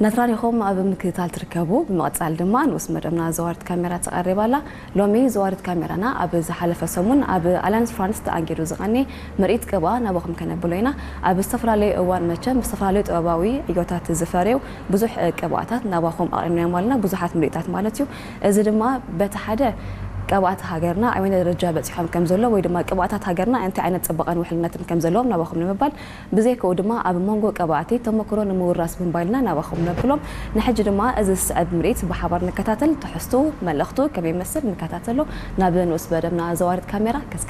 ናትራን ኢኹም ኣብ ምክትታል ትርከቡ። ብምቕጻል ድማ ንኡስ መደብና ዘዋርት ካሜራ ትቐርብ ኣላ። ሎሚ ዘዋርት ካሜራና ኣብ ዝሓለፈ ሰሙን ኣብ ኣላንስ ፍራንስ ተኣንጊዱ ዝቐኒ ምርኢት ቅብኣ ናባኹም ከነብሎ ኢና። ኣብ ዝተፈላለዩ እዋን መቸም ብዝተፈላለዩ ጥበባዊ ዕዮታት ዝፈረዩ ብዙሕ ቅብኣታት ናባኹም ኣቕሪብናዮም ኣለና፣ ብዙሓት ምርኢታት ማለት እዩ። እዚ ድማ በቲ ሓደ ቅብኣት ሃገርና ኣበየናይ ደረጃ በፂሖም ከም ዘሎ ወይ ድማ ቅብኣታት ሃገርና እንታይ ዓይነት ፅባቐን ውሕልነትን ከም ዘለዎም ናባኹም ንምባል፣ ብዘይካኡ ድማ ኣብ መንጎ ቀባእቲ ተመክሮ ንምውራስ ብምባልና ናባኹም ነብሎም። ንሕጂ ድማ እዚ ዝስዕብ ምርኢት ብሓባር ንከታተል። ትሕዝቱ መልእኽቱ ከመይ ይመስል ንከታተሎ። ናብ ንኡስ መደብና ዘዋርት ካሜራ ከስክራ።